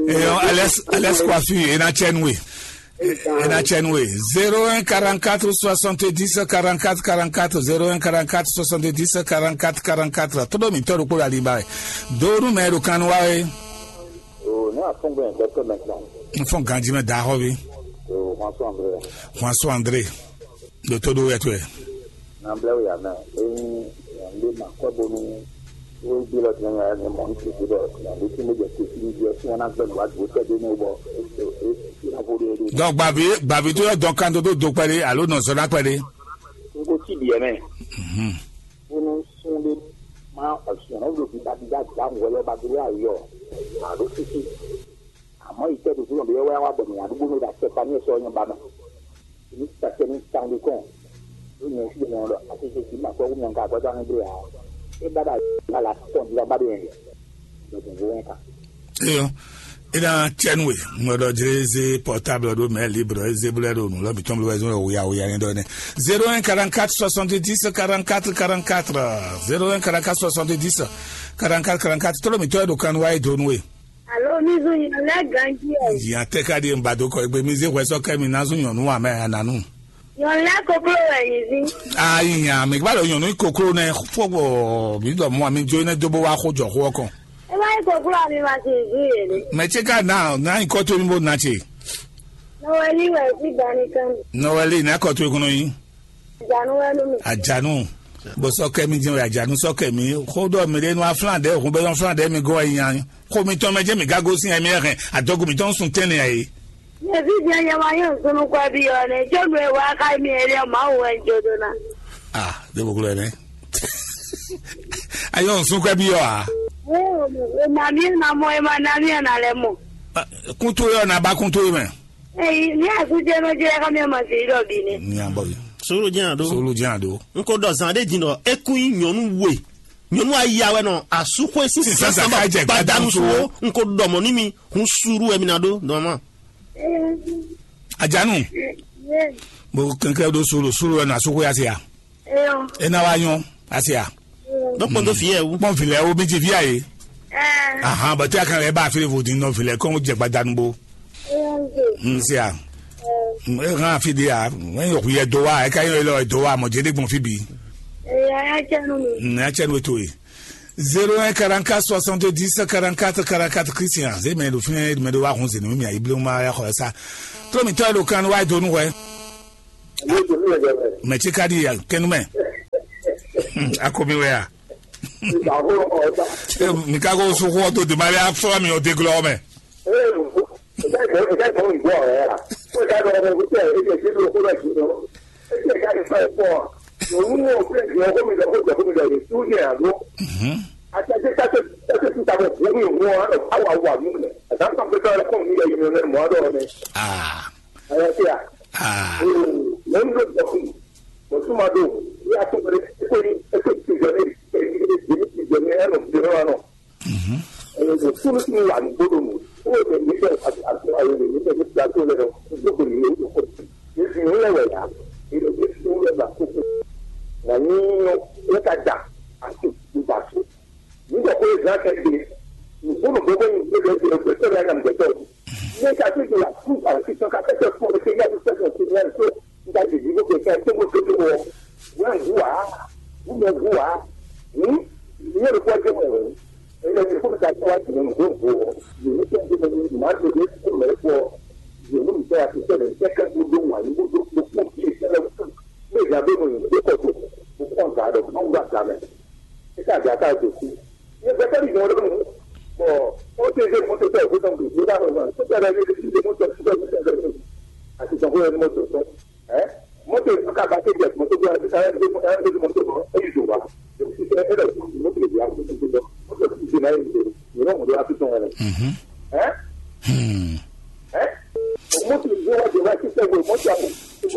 Eyɔn, Alex, Alex Coiffure, e na tsɛ nú we. E na tsɛ nú we. Zéro un quarante-quatre soixante-dix quarante-quatre quarante-quatre, zéro un quarante-quatre soixante-dix quarante-quatre quarante-quatre. Todo mi tɔ́ ɖokpó la li ba wɛ. Donu mɛ ɖo kan wa wɛ. O, ne afɔngbe yẹn kɛtɛ mɛ kan. N fɔn ganji mɛ da xɔ bi. O, François André. François André. Ɖo tó ɖó wɛ tó yɛ. Nabla ya mɛ. Eyin yande ma kɔ bonu. Wo gbe lɔ tɛnɛ ya ne mɔ n tete bɔ yande ti mo jɛ tete ni jɛ fún ɔna gbɛ nu wa do tɛ de ne bɔ e e e na vo de de. Donc gbavi gbavi tó yɔ dɔn kan tó tó do kpɛɖe alo nɔ zɔ na kpɛɖe. N ko ti diɛ mɛ. Mhm. Bonu sun de ma ɔsùn ɔna wúlò bí babí bá gbà wọlé ọba dúró ayọ̀. Àdó títí. Àmọ́ ìtẹ́ tó fúnra bí wọ́n wá bọ̀ ní àdúgbò ní ìdá tẹ́ta ní ẹ̀sọ́ ọyàn bá mọ́. Èmi ti tàkẹ́ ní táwọn lè kàn. Ó yẹn sí ìmọ̀ ọ̀rọ̀ àti ṣe kì í mà fẹ́ wúmi ọ̀gá àgbájá ní ìdílé àwọn. Ẹ bá dà bá la tọ̀ ní ọba dé yẹn. Lọ́dún owó yẹn kà. Eyɔ, ina tiɛnu we ŋmɛɖɔ dze eze portable ɖo mɛ libre eze blɛ ɖo nu lɔ mitɔn blɛ zɔn wuya wuya ni ɖɔ nɛ. Zéro un quarante-quatre soixante-dix quarante-quatre quarante-quatre, zéro un quarante-quatre soixante-dix quarante-quatre quarante-quatre, tolo mitɔ ɖo kan wa e donu we. Alo, mi zun nyɔnu lɛ ganji ɛ. Yan tɛ ka di n ba do kɔ egbe mi ze hwɛ sɔ kɛ mi na zun nyɔnu wa mɛ ananu. Nyɔnu lɛ koklo wɛ nyi zi. Ayi yan mi gba ɖo nyɔnu koklo nɛ fɔgbɔ mi dɔ mɔ mi jo ne do bo wa xo jɔ xo kɔn. E ma yi koklo ami ma si zi yɛ de. Mɛ tse ka na na yi kɔ to mi bo na tse. Nɔwɛli wɛ si dani kan. Nɔwɛli na kɔ to kɔnɔ yi. Janu wɛ nu mi. Ajanu. Bo sɔ kɛ mi jɛn wɛ ajanu sɔ kɛ mi. Xo dɔ mi de nu aflan de hun bɛ nu aflan de mi go ayi yan. Xo mi tɔn mɛ jɛ mi gago sin ɛmi ɛhɛn. Adɔgu mi tɔn sun tɛnɛ ayi. Yesu jẹ́ yẹn wá yóò sunú kọ́ bí ọ̀nà ìjọ́nu ẹ̀ wá ká mi ẹ̀rí ọmọ àwọn ẹ̀ ń jòdò náà. Ah, de boklo ene. Ayo nsun kwe bi yo a. Ẹ̀ ò mọ̀ ẹ̀ máa mi ẹ̀ máa mọ̀ ẹ̀ máa ná mi ẹ̀ náà lẹ̀ mọ̀. Kún tó yọ na ba kún tó yọ mɛ. Èyí ní àtúnjẹ ló jẹ́ ká mi ẹ̀ máa ṣe ìdọ̀bí ni. Ní àbọ̀ yìí. Sùúrù jẹ́ àdó. Sùúrù jẹ́ àdó. N kò dọ̀ zàn dé jìnnà, ekun yìí nyɔnu wè. Nyɔnu aya wɛ nɔ asúxwé sísè sánbà gbadanu suwo. N kò dɔ̀mọ̀ ní mi, hun sùúrù wɛ mi na dó dɔ̀mọ̀. Ajanu. Bo kɛnkɛ do solo solo wɛ na so ko ya se ya. Ena wa nyɔ ase ya. Dɔ kpɔn do fi yɛ wu. Kpɔn filɛ wo mi ti fi ya ye. Ahan bɔtɛ kan lɛ ba fi le vo di nɔ filɛ kɔn jɛ gbadanu bo. N se ya. E kan fi de ya. Mɛ yɔ kuyɛ do wa e ka yɔ lɔ do wa mɔ jɛ de gbɔn fi bi. Eya ya cɛ nu mi. N ya cɛ nu to ye. Zéro un quarante-quatre soixante-dix quarante-quatre quarante-quatre Christian. Zé mɛ ɖo fínɛ́ mɛ ɖo wá hun zé nú mì ayíblé ma ya xɔ sa. Tró mi tɔ́ ɖo kan wá do nú hwɛ. Mɛ tí ka ɖi kɛnú mɛ. Akomi wɛ ya. Mi ka ko suxu ɔ to dèmali afɔ mi ɔ deglɔ mɛ. Ah. Ah. Mɔ̌ ɖo dɔkun, mɔ̌ tún ma ɖo, ní atɔ́ kpɛɖé, é kó ní, é kó ní tijɔ ní, é ní tijɔ ní, é nɔ tijɔ ní wa nɔ. Ɛɛ, mɔ̌ tún ní tún wà ní gbódò mɔ, ó wɛ ní bɛ àti àti ayé ní bɛ ní plateau lɛ nɔ, gbódò ní yóò kó. Ní fi ní lɛ wɛ yá, ní lɛ ní fi ní lɛ ba kókó. Wà ní yɔ, é ka da, àti ìgbà tó. Nígbà tó yẹ zan kɛ gbe, nùgbónùgbó bɛ ní gbé bɛ gbé gbé tɔ́ yà nà gbé tɔ́. Ní ká tó di la fún àti tán ká tẹ́tẹ́ fún ọmọ kékeré àti tẹ́tẹ́ sí ní àìsó nígbà tí ìdíbò kẹ̀kẹ́ tó gbé tó wọ. Wọ́n ń hu wá, wọ́n mọ̀ hu wá. Ní ní olùkọ́ ẹgbẹ́ mọ̀ wọ́n. Ẹ̀yẹ́ ti fún ìta tí wọ́n ti mọ̀ nùgbó nùgbó wọ. Yìí ní kí wọ́n ti mọ̀ ní ìmọ̀ àti ìdí tó mọ̀ ẹ́ pọ̀. Yìí ní ìfẹ́ àti ìfẹ́ rẹ̀ kẹ́kẹ́ gbogbo wà ní gbogbo gbogbo kí ìfẹ́ rẹ̀ fún. Bí ìgbà tó mọ̀ ní ìdíkọ̀ tó, mo kọ́ ọ̀gá rẹ̀, mo ń gbà gbà mẹ́. Eka gata dosi. Ye bɛtɛ bi jɔn ɖo nu. Bɔ o te ze moto tɛ o tɔn bi. Ye ba lɔ zan. Sotɛ ɖe ye ti ze moto sotɛ moto tɛ. Ati sɔn ko ye moto tɔn. Ɛ moto ka ba te jɛ moto bi a ɛ ɛ moto bɔ e yi do ba. Sotɛ e ɖe moto bi a moto bi bɔ moto ti se na ye se. Ye nɔ mo do a ti sɔn wɛrɛ. Ɛ ɛ moto bi wa de wa sotɛ ko moto a ko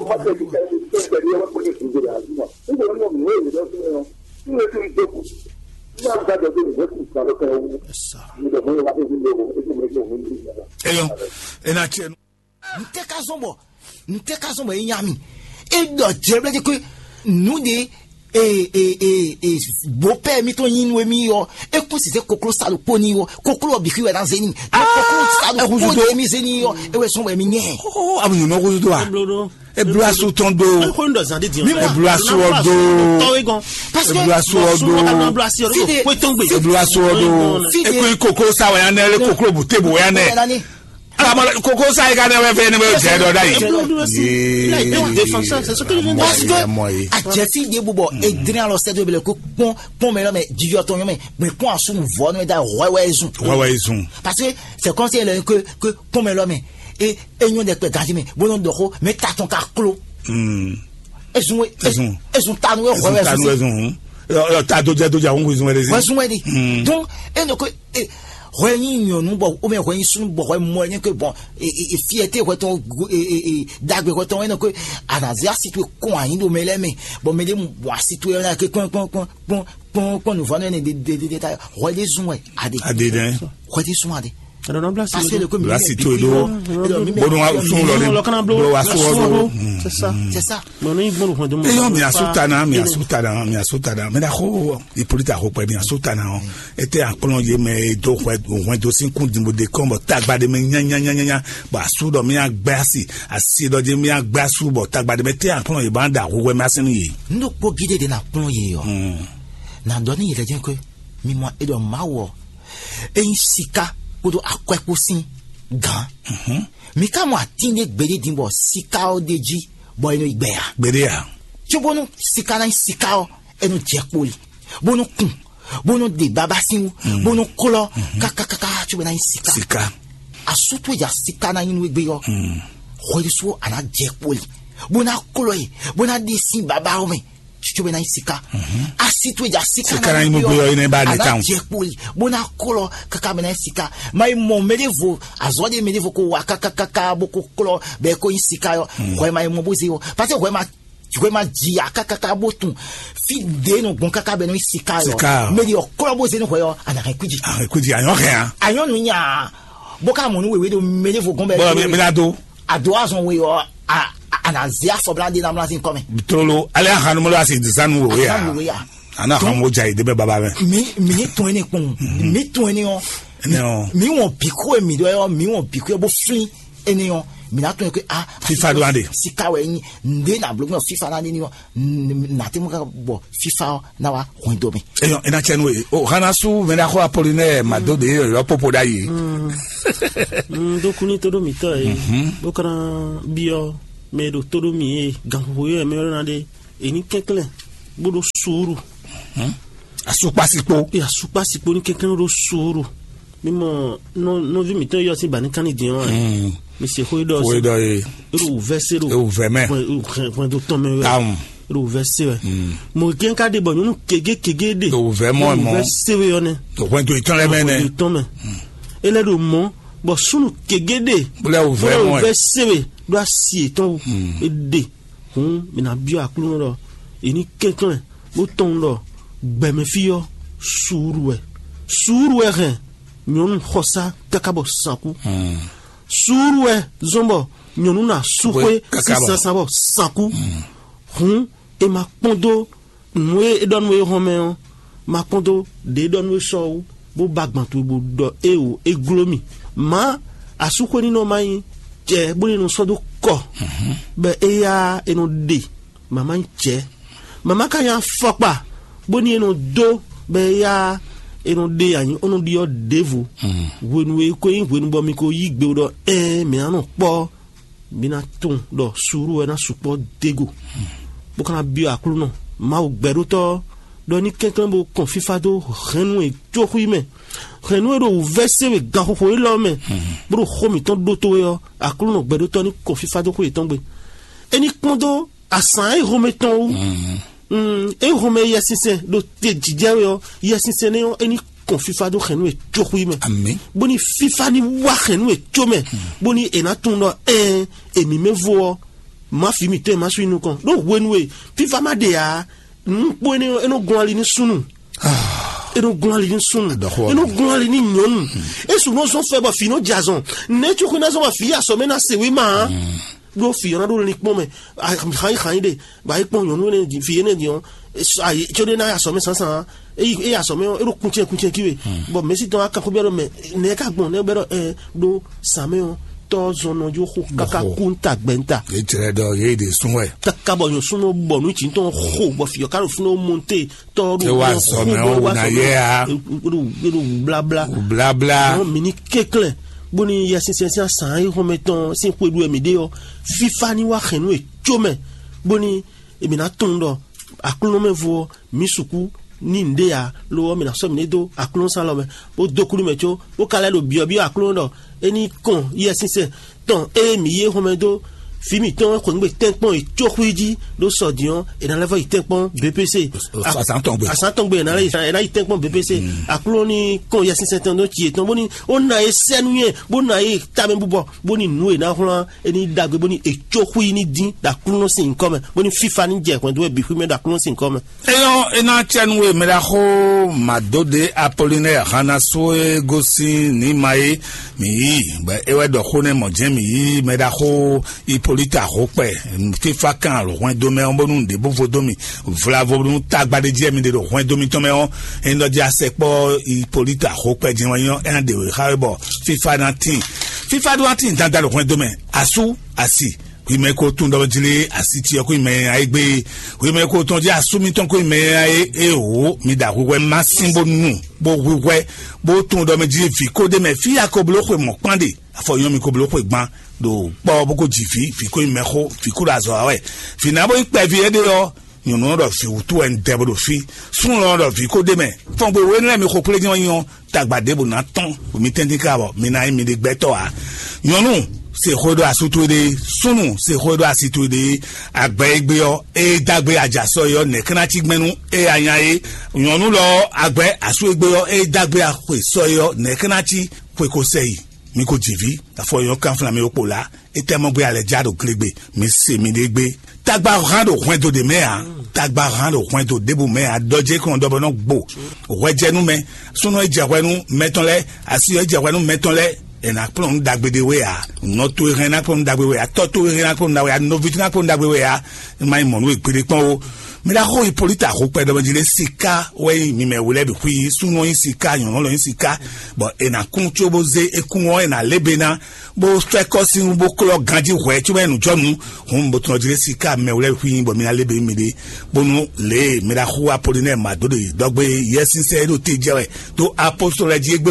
moto bi ka ye sotɛ de wa ko ni su de la. Ni ko ni mo mo ye do so. Esa. Eyɔn, ena tiɛ nu. N tɛ ka zɔn bɔ, n tɛ ka zɔn bɔ e nya mi. E ɖɔ jɛblɛ de ko nu de e e e e bopɛ mi to yin nu mi yɔ. E kun si se koklo sa ɖo kpo ni yɔ. Koklo bi xi wɛ na zeni. Koklo sa ɖo kpo de mi zeni yɔ. E wɛ sɔn wɛ mi nyɛ. Abu nyɔnɔ ko do a? Eblasu tɔn do. Eblasu ɔ do. Eblasu ɔ do. Eblasu ɔ do. Eko yi koklo sa wɛ ya nɛ, ele koklo bu te bo ya nɛ. Alamɔ koklo sa yi ka nɛ wɛ fɛ ne bɛ jɛ dɔ da yi. Parce que a jɛ fi de bubɔ edrin alɔ sɛ do bele ko kpɔn kpɔn mɛ lɔ mɛ jijɔ tɔn yɔ mɛ mɛ kpɔn asu nu vɔ nu da wɛ wɛ zun. Wɛ wɛ zun. Parce que c'est comme si elle que que kpɔn mɛ lɔ mɛ e e nyɔ ɖe kpɛ ganji mɛ bó nɔ dɔ xó mɛ ta tɔn ka klo. Ezun ezun ezun tanu e hwɛ wɛ zun. Ezun ta do jɛ do jɛ ahun ezun wɛ de zi. Wɛ zun wɛ de. Donc e nɔ ko e hwɛ nyi nyɔnu bɔ o mɛ hwɛ nyi sunu bɔ hwɛ mɔ ɛ nyɛ ko bɔn e e e fiyɛte hwɛ tɔn e e e dagbe hwɛ tɔn e nɔ ko anazi asi to kɔn anyi do mɛ lɛ mɛ bɔn mɛ de mu bɔn asi to yɛ na ke kpɔn kpɔn kpɔn kpɔn kpɔn kpɔn nuvɔ ne de de de ta hwɛ de zun wɛ ade. Ade dɛ. Hwɛ de zun ade. Parce que le commune Blasi to do. Bono wa sun lɔ de. Bolo wa sun lɔ do. C'est ça. C'est ça. Eyɔ mi asu tana mi asu tana mi asu tana mɛ da ko ipolita ko pɛ mi asu tana o. Ete akplɔ ye mɛ do hwɛ hwɛ do sin kun dimbo de kɔn bɔ tagba de mɛ nyanyanyanya bɔ asu dɔ mi agbɛ asi asi dɔ de mi agbɛ asu bɔ tagba de mɛ te akplɔ ye ba da hwɛ ma sin ye. N ɖo kpó gídé de na kplɔn ye yɔ. Na dɔ ní yɛlɛ jẹ́ pé mi mɔ e ɖɔ Mawu ɔ, e nyí sika kpódó akwɛ́ kpó sín gǎn. Mi ka mɔ atín ɖé gbeɖé din bɔ sika ɔ́ ɖ'é jí bɔ é nɔ yi gbɛ a? Gbeɖé a? Cóbónú sika ná nyí sika ɔ́, é nɔ jɛ kpo yi, bó nɔ kun, bó nɔ ɖe baba sín wú, bó nɔ klɔ́ kákákáká cóbɔ é ná nyí sika. Sika. Asú towe ja sika ná nyí nú égbé ɔ́, hwɛɖésú a nǎ jɛ kpo yi, bó ná klɔ́ yi, bó ná ɖe sín baba ɔ́ mɛ. Tsotso bɛ na yi sika. Asi to ja sika. Sika na yi mo gbe yɔ yi ne ba de tan. Jɛ kpoli bó na kɔlɔ kaka bɛ na yi sika. Ma yi mɔ mɛ de vo azɔ de mɛ de vo ko wa kaka kaka bó ko kɔlɔ bɛ ko yi sika yɔ. Hwɛ ma yi mɔ bó ze yɔ parce que hwɛ ma hwɛ ma jia kaka kaka bó tun fi de nɔ gbɔn kaka bɛ nɔ yi sika yɔ. Mɛ de yɔ kɔlɔ bó ze nɔ hwɛ yɔ a na hɛn kuji. A hɛn kuji a yɔ hɛn a. A yɔ nu nya bó ka mɔ nu wewe do mɛ de vo gɔn bɛ. Bɔlɔ mi mi na do. A do azɔn we yɔ a a na ze afɔ bla de na mla sin kɔmɛ. Tlolo ale ahanumolo asi zanu wo ya. Ana han mo ja ide bɛ baba mɛ. Mi mi ni tɔn ne kpɔn mi tɔn ne ɔ. Ne ɔ. Mi wɔn bi ko mi dɔ yɔ mi wɔn bi ko bo fin ene ɔ. Mi ná tunwun ké a fifa ɖo aɖe. Sika wɛ nyi nde na bló gbɔn fifa na nini ɔ. Na te mu ka bɔ fifa ɔ na wa hwɛndo mi. Eyɔn ena cɛ nu e o hana su mɛ na xɔ apolinɛ mado de yɔ popo da yi. Dokuni todo mitɔ ye. Bó kana biɔ mɛ ɖo todo mi ye ganxoxo yɔ mɛ yɔ na de. Eni kɛnklɛn bó ɖo suuru. Asukpasikpo. Asukpasikpo ní kɛnklɛn bó ɖo suuru. Mi mɔ nɔví mǐtɔn yɔ sín ba ní kánni din ɔ́. Mi se xó e ɖɔ xó e ɖɔ ye. Eɖo wǔvɛ́ se ɖo ewu vɛ mɛ. Hwɛndo tɔn mɛ wɛ. Tamu. Eɖo wǔvɛ́ se wɛ. Mɔ gɛn ka ɖe bɔ nyɔnu kege kege ɖe. Ewu vɛ mɔ mɔ. Wǔvɛ́ se wɛ yɔ nɛ. Hwɛndo itɔn lɛ mɛ nɛ. Hwɛndo tɔn mɛ. Ele ɖo mɔ bɔ sunu kege ɖe. Bólɛ ewu vɛ mɔ. Wǔvɛ́ se wɛ ɖo asi yětɔn wú. Eɖe. Hǔn mi ná byɔ́ Aklúnɔ ɖɔ è ní kɛnklɛ́n bó tunwun ɖɔ gbɛmɛ fí ɔ́ suúlu wɛ. Suúlu wɛ hɛn nyɔ̌nu xɔsá káká bɔ sankú. Suúlu wɛ zɔ́n bɔ nyɔ̌nu ná sú xwé sín sansan bɔ sankú. Hǔn è ma kpɔ́n dó nǔ e é ɖɔ nú é hɔn mɛ ɔ́, ma kpɔ́n dó ɖě é ɖɔ nú é sɔ ɔ́ wú, bó ba gban towe bó ɖɔ éeǒ, é gló mì. Mǎ asúxwénínɔ ma nyí jɛ bó ní nɔ sɔ́ dó kɔ, bɔ éyá é nɔ ɖe mǎ ma nyí jɛ. Mǎ ma ka nyí afɔkpa bó ní é nɔ dó, bɔ éyá é nɔ ɖe anyǐ ó nɔ ɖyɔ́ ɖěvo. Hwenu e é ko nyí hwenu bɔ mi ko yí gbe ɖɔ ɛɛn mǐ ná nɔ kpɔ́ mi ná tunwun ɖɔ suúlu wɛ ná sukpɔ́ dó e go, bó ka ná byɔ́ Aklúnɔ Mawu gbɛɖótɔ́ ɔ́, ɖɔ ní kɛnklɛ́n bó kɔn fífá dó hɛ̌nnu e jó xwí mɛ, hɛ̌nnu e ɖo wǔvɛ́ se we ganxoxo élɔ́ mɛ, bó ɖo xó mǐtɔn ɖótó é ɔ́, Aklúnɔ gbɛɖótɔ́ ní kɔn fífá dó xwé yětɔn gbe. É ní kpɔ́n dó azǎn e hɔnmɛ tɔn wú. Mm, é hɔnmɛ Yɛsinsɛn ɖo te jijɛ we ɔ́, Yɛsinsɛn nɛ́ ɔ́, é ní kɔn fífá dó hɛ̌nnu e jó xwí mɛ. Amǐn. Bó ní fífá ní wá hɛ̌nnu e jó mɛ, bó ní è nǎ tunwun ɖɔ ɛɛn, èmǐ mɛ vo ɔ́, má fi mǐtɔn e má sú yi nukɔn. Ɖó hwenu e fífá má ɖe ǎ, nǔkpó énɛ́ ɔ́, é nɔ gɔn ali ní súnnu. É nɔ gɔn ali ní súnnu. Adɔxɔ. É nɔ gɔn ali ní nyɔ̌nu. É su nɔ zɔn fɛ bɔ fǐ nɔ jɛ azɔn. Nɛ̌ cóxó ná zɔn bɔ fǐ yi asɔ mɛ ná se wé ma ǎ. Ɖó fǐ ɔ́ ná ɖó linkpɔ́n mɛ. Xanyi xanyi ɖe, bɔ é kpɔn nyɔ̌nu énɛ́ din, fǐ énɛ́ din ɔ́, ayi có ɖé ná yi asɔ mɛ sánsan ǎ. É yi asɔ mɛ ɔ́, é ɖo kuncɛ kuncɛ kí we. Bɔ mɛ̌si tɔn wá kanxó byɔ́ ɖɔ mɛ nɛ̌ ká gbɔn nɛ́ bɛ ɖɔ ɛ ɖó sǎ mɛ ɔ́, tɔ́ zɔn nɔ jó xo káká kú ń ta gbɛ ń ta. Yě jlɛ ɖɔ yě ɖě sún wɛ. Káká bɔ nyɔ̌súnú bɔ nǔ jǐ tɔn xo bɔ fǐ ɔ́ ká ɖo fínú ó monté tɔ́ ɖo. Ewɔ azɔ mɛ ɔ́ wò ná yɛ a. Ɖo blabla. Blabla. Ɔn mi ní kéklɛn bóni yɛsinsɛn sín asǎn e xɔmɛ tɔn sín xwe ɖu wɛ mi ɖe ɔ́, fífá ní wá xɛn nú è có mɛ, bóni èmi ná tunwun ɖɔ aklúnɔmɛvo ɔ́, mi sukú ní nǔɖé ǎ, lo ɔ́, mi ná sɔ́ mi ní dó aklúnɔsán lɔ mɛ, bó dó kúlú mɛ có, bó ka lɛ́ ɖo byɔ̌byɔ́ aklúnɔ ɖɔ é ní kɔn yɛsinsɛn tɔn ée mǐ yí xɔmɛ dó fǐ mǐtɔn e xweyǐgbe tɛ́nkpɔ́n e có xwí jí ɖó sɔ din ɔ́, è nǎ lɛ́ vɔ́ yi tɛ́nkpɔ́n B P C. Azǎn tɔn gbe. Azǎn tɔn gbe è nǎ lɛ́ yi, è nǎ yi tɛ́nkpɔ́n B P C. Aklúnɔ ní kɔn yɛsinsɛn tɔn dó ci yětɔn bóni ó ná e sɛ́ nú nyɛ, bó ná e tamɛ búbɔ, bóni nǔ e ná xwlán é ní ɖagbe, bóni è có xwí ní dín ɖo aklúnɔ sín nyǐkɔ mɛ, bóni fífa ní jɛ hwɛ̌ndó wɛ bǐ xwí mɛ ɖo aklúnɔ sín nyǐkɔ mɛ. Eyɔ́ é ná cɛ nú we mɛɖaxó Màdóɖe Apolinɛ́ɛ Hanasu e gosín Nǐma é mǐ yí, bɔ é wɛ ɖɔ xó nɛ́ mɔ̌ jɛ́n mǐ yí mɛɖaxó Ipolita Hokpɛ. Fífá kan ɖo hwɛndo mɛ ɔ́, bónú nǔɖé bó vo dó mì vlavo nú tagba ɖé jí mi ɖe ɖo hwɛndo mitɔn mɛ ɔ́, é nɔ jí asɛkpɔ́ Ipolita Hokpɛ jɛ́n wɛ nyɔ́, é ná ɖe wě xá we bɔ fífá ná tíin. Fífá ɖó ná tíin dandan ɖo hwɛndo mɛ, asú, asi, hwi mɛ ko tún ɖɔ jlé asi cyɔ kó mɛ ayé gbé, hwi mɛ ko tɔn jí asú mitɔn kó mɛ ayé. Ewò mi ɖa hwihwɛ má sín bó nu bó hwihwɛ bó tún ɖɔ mɛ jí vǐ kó ɖé mɛ fí ya ko bló xwe mɔ̌ kpán ɖe, afɔ nyɔ́ mi ko bló xwe gbán ɖo kpɔ bó ko ji vǐ, vǐ ko mɛ xó, vǐ ko ɖo azɔ̌ wa wɛ. Vǐ ná bó nyí kpɛví éɖée ɔ́, nyɔ̌nu ɔ́ ɖɔ vǐ wútu wɛ un dɛ bó ɖo fí. Súnnu lɔ ɖɔ vǐ ko ɖ'é mɛ. Fɔngbe wěnú lɛ́ɛ mi xo kplé nyí ɔ́, tagba ɖěbǔ ná tɔ́n, bɔ mi tɛ́ntin ká bɔ mi ná nyí miɖée gbɛtɔ́ ǎ. Nyɔ̌nu, se xó e ɖó asú towe ɖe, súnnu, se xó e ɖó asi towe ɖe, agbɛ e gbé ɔ́, ée dó agbe ajǎsɔ é ɔ́, nɛ̌ ká ná cí gbɛ́nú ée a nya é? Nyɔ̌nu lɔ ɔ́, agbɛ asú e gbé ɔ́, ée dó agbe axwe sɔ é ɔ́, nɛ̌ ká ná cí xwe ko sɛ yi? Mi ko ji vǐ, afɔ nyɔ́ kánflán mi ɖokpó lá. Etɛ́ mɔ gbé alɛ já ɖo gle gbe, mi se miɖée gbé. Tagba hán ɖo hwɛndo ɖě mɛ ǎ. Tagba hán ɖo hwɛndo ɖěbǔ mɛ ǎ. Ɖɔ jɛ kɔn ɖɔ bɔ nɔ gbo hwɛjɛnú mɛ. Súnnu e jɛ hwɛ nú mɛtɔn lɛ́ɛ, asi e jɛ hwɛ nú mɛtɔn lɛ́ɛ, è nǎ kplɔ́n nǔ ɖagbe ɖé we ǎ. Nɔ towe hɛn ná kplɔ́n nǔ ɖagbe we ǎ. Tɔ́ towe hɛn ná kplɔ́n nǔ ɖagbe we ǎ. Nɔví towe ná kplɔ́n nǔ ɖagbe we ǎ. Má nyí mɔ̌ nú we gbeɖé kpɔ́n ó. Mɛ ɖaxó Hipólíta Hopɛ ɖɔmɔjí lé siká wɛ nyí mi mɛ wlɛ́ bǐ xwí súnnu nyí siká, nyɔ̌nu lɔ nyí siká, bɔ è nǎ kún có bó zé é kún ɔ́, è nǎ lé be ná, bó fɛ́ kɔ́ sín bó klɔ́ ganjí hwɛ̌ có bɛ́ nǔjɔnú. Hǔn bó tɔn jí lé siká mɛ wlɛ́ bǐ xwí nyí bɔ mi ná lé be mì ɖe, bónú lě e mɛ ɖaxó Apolinɛ́ɛ Madóɖe dɔgbe Yɛsinsɛn e ɖo te jɛ wɛ dó apostolo lɛ́ɛ jí égbé